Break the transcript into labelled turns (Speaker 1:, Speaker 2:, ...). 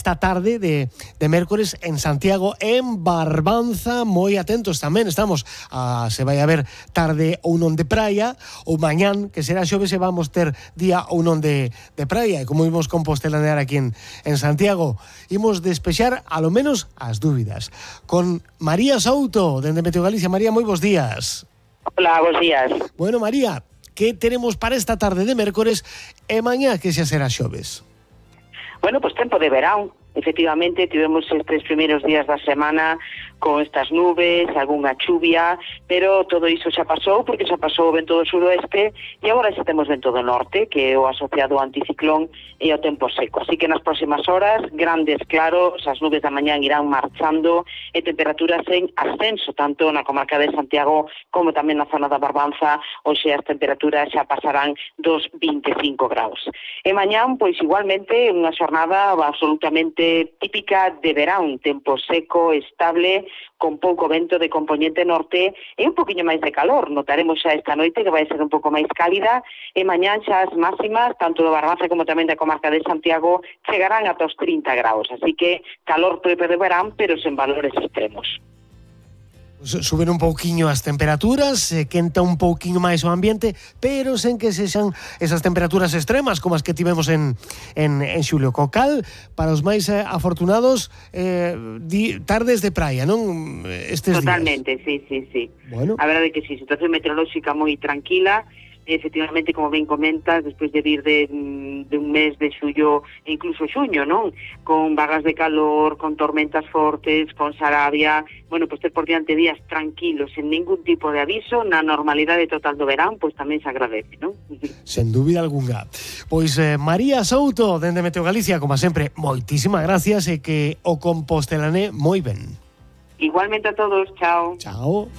Speaker 1: esta tarde de mércores en Santiago, en Barbanza. Moi atentos tamén, estamos se vai a ver tarde ou non de praia, ou mañán, que será xoves, e vamos ter día ou non de praia, e como imos compostelanear aquí en Santiago, imos despexar a lo menos as dúbidas con María Souto, dende Meteo Galicia. María, moi bons días.
Speaker 2: Hola, bons días.
Speaker 1: Bueno, María, que teremos para esta tarde de mércores e mañá que xa será xoves?
Speaker 2: Bueno, pues tempo de verán. Efectivamente, tivemos estes primeiros días da semana con estas nubes, algunha chuvia, pero todo iso xa pasou, porque xa pasou o vento do suroeste e agora xa temos vento do norte, que é o asociado ao anticiclón e ao tempo seco. Así que nas próximas horas, grandes claros, as nubes da mañán irán marchando e temperaturas en ascenso, tanto na comarca de Santiago como tamén na zona da Barbanza. Hoxe as temperaturas xa pasarán dos 25 graus. E mañán, pois igualmente, unha xornada absolutamente típica de verán, tempo seco, estable, con pouco vento de componente norte e un poquinho máis de calor. Notaremos xa esta noite que vai ser un pouco máis cálida e mañán xa as máximas, tanto do Barbanza como tamén da comarca de Santiago, chegarán ata os 30 graus. Así que calor propio de verán, pero sen valores extremos.
Speaker 1: Suben un pouquiño as temperaturas, quenta un pouquiño máis o ambiente, pero sen que sexan esas temperaturas extremas como as que tivemos en xulio. Cocal, para os máis afortunados, tardes de praia, non? Estes
Speaker 2: Totalmente,
Speaker 1: días.
Speaker 2: sí.
Speaker 1: Bueno.
Speaker 2: A verdade é que sí, situación meteorolóxica moi tranquila. Efectivamente, como ben comentas, despois de vir de un mes de xullo e incluso xuño, non? Con vagas de calor, con tormentas fortes, con sarabia, bueno, pois ter por diante días tranquilos, sen ningún tipo de aviso, na normalidade total do verán, pois tamén se agradece, non?
Speaker 1: Sen dúbida algunha. Pois María Souto, dende Meteo Galicia, como sempre, moitísimas gracias e que o compostelané moi ben.
Speaker 2: Igualmente a todos, chao.
Speaker 1: Chao.